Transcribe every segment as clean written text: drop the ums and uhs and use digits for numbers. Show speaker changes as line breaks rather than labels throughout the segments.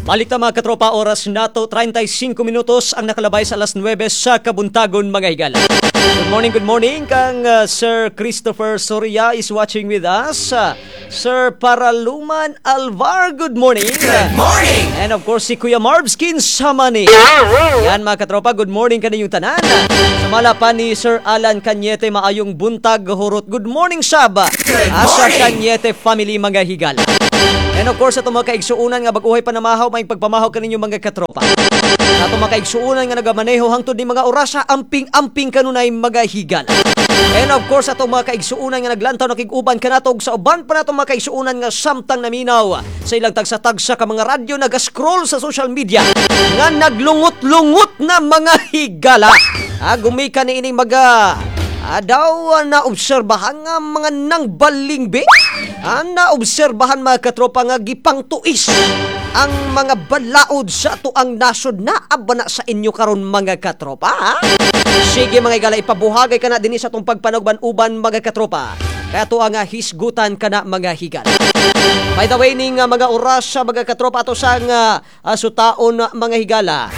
Balik ta, mga katropa, oras nato, 35 minutos ang nakalabay sa alas 9 sa kabuntagon, mga higala. Good morning kang Sir Christopher Soria is watching with us. Sir Paraluman Alvar, good morning. Good morning. And of course si Kuya Marvskin Samani. Yan, mga katropa, good morning kaninyong tanan. Sumala pa ni Sir Alan Cañete, maayong buntag hurot. Good morning sab. Good Asa Cañete family, mga higala. And of course, atong mga kaigsuunan nga bag-ohay pa namahaw, may pagpamahaw kaninyo, mga katropa. Sa atong mga kaigsuunan nga nagamaneho hangtod ni mga orasa, amping-amping kanunay, mga higala. And of course, atong mga kaigsuunan nga naglantaw nakig-uban kanatog sa uban pa natong mga kaigsuunan nga samtang naminaw sa ilang tagsa-tagsa ka mga radyo, naga-scroll sa social media nga naglungot-lungot na, mga higala. Gumika ni ining mga daw naobserbahan nga mga nang balingbi. Naobserbahan, mga katropa, nga gipangtuis ang mga balaod sa atoang nasod na abana sa inyo karon, mga katropa. Ha? Sige, mga higala, ipabuhagay ka na dinhi sa atong pagpanugban-uban, mga katropa. Kaya to ang hisgutan ka na, mga higala. By the way, ning mga oras sa mga katropa, ato sang sutaon, mga higala.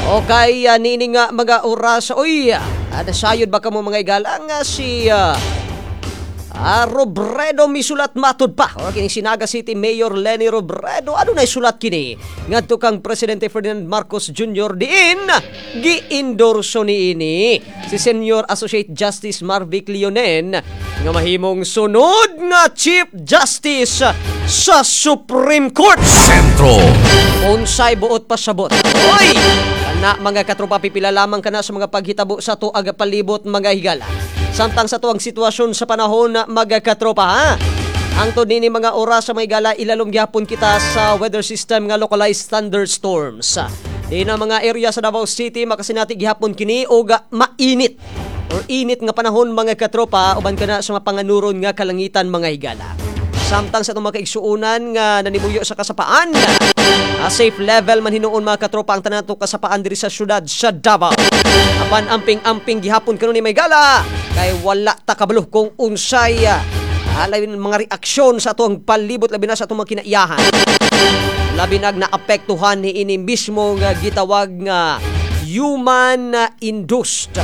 Okay, niini nga mga oras. Uy, nasayod ba kamo, mga higala, nga si Robredo misulat matud pa? O kini si Naga City Mayor Leni Robredo, ano na isulat kini ngadto kang Presidente Ferdinand Marcos Jr. diin gi-endorso niini si Senior Associate Justice Marvic Leonen nga mahimong sunod nga Chief Justice sa Supreme Court.
Sentro.
Unsay buot pasabot? Oy! Kana, mga katropa, pipila lamang kana sa mga paghitabo sa tuag palibot, mga higala. Samtang sa tuang sitwasyon sa panahon na, mga katropa, ha. Ang nini mga oras sa mga higala, ilalom gyapon kita sa weather system nga localized thunderstorms. Di na mga area sa Davao City makasinati gihapon kini og mainit or init nga panahon, mga katropa, uban kana sa mga panganuron nga kalangitan, mga higala. Samtang sa itong mga kaigsuunan nga nanimuyo sa kasapaan, safe level man hinuon, mga katropa, ang tanan to kasapaan diri sa syudad sa Davao. Apan amping-amping gihapon kanu ni may gala kay wala ta kabalo kung unsay labi mga reaksyon sa atong palibot, labi na sa atong mga kinaiyahan. Labi nag naapektuhan ni ini mismo nga gitawag nga human induced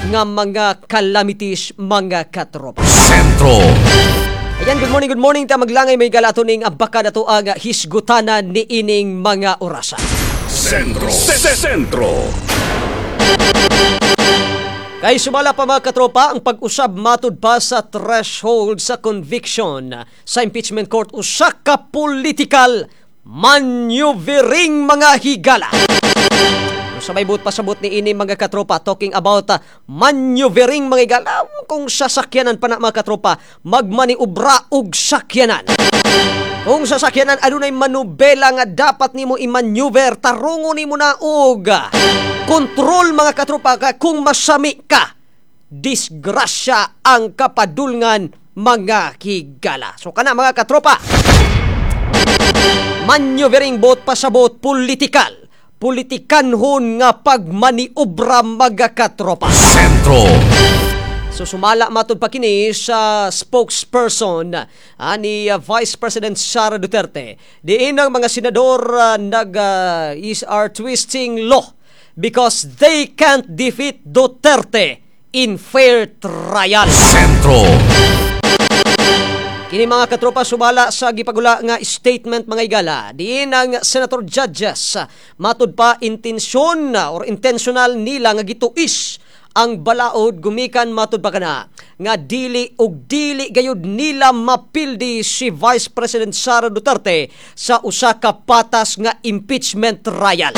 nga mga calamities, mga katropa.
Sentro.
Ayan, good morning, good morning. Ta maglangay may gala ning baka na to ang hisgutanan ni ining mga orasa.
Sentro. Sentro.
Kay sumala pa, mga katropa, ang pag-usab matud pa sa threshold sa conviction sa impeachment court usa ka political maneuvering, mga higala. Sa may buot pasabot ni ini, mga katropa, talking about maneuvering, mga higala, kung sasakyanan pa na, mga katropa, magmaniubra og sakyanan. Kung sasakyanan adunay manubela nga dapat nimo i-maneuver, tarungo nimo na og kontrol, mga katropa, ka kung masami ka, disgrasya ang kapadulngan, mga higala. So kana, mga katropa, maneuvering, buot pasabot, politikal politikanhon nga pagmaniobra, mga katropa.
Sentro.
So sumala matud pa kini sa spokesperson ni Vice President Sara Duterte. Diin ang mga senador nag is are twisting law because they can't defeat Duterte in fair trial.
Sentro.
Kini, mga katropa, sumala sa gipagula nga statement, mga igala. Diin ang senator judges matud pa intensyon or intentional nila nga gituis ang balaod gumikan matud pa kana nga dili og dili gayud nila mapildi si Vice President Sara Duterte sa usa ka patas nga impeachment trial.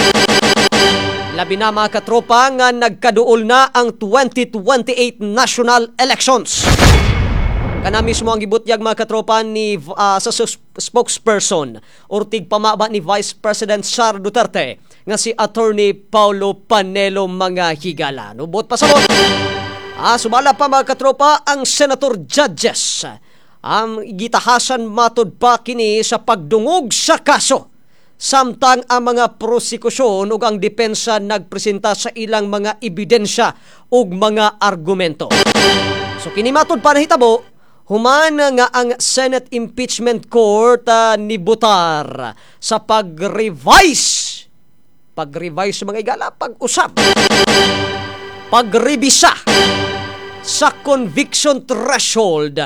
Labi na, mga katropa, nga nagkaduol na ang 2028 national elections. Kana mismo ang gibutyag, mga katropa, ni sa spokesperson or tigpamaba ni Vice President Sara Duterte nga si Attorney Paulo Panelo, mga higala. Buot pasabot. Sumala pa, mga katropa, ang senator judges. Ang gitahasan matud pa kini sa pagdungog sa kaso. Samtang ang mga prosekusyon ug ang depensa nagpresenta sa ilang mga ebidensya ug mga argumento. So kini matud pa nahitabo Human nga ang Senate Impeachment Court nibutar sa pag-revise, pag-revise, mga igala, pag-usab, pagrebisa sa conviction threshold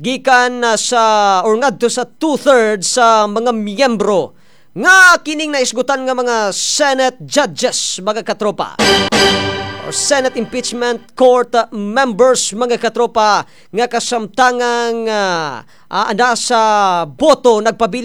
gikan sa or ngadto sa two-thirds sa mga miyembro nga kining naisgutan nga mga Senate judges, mga katropa, or Senate Impeachment Court members, mga katropa, nga kasamtangang anda sa boto nagpabiling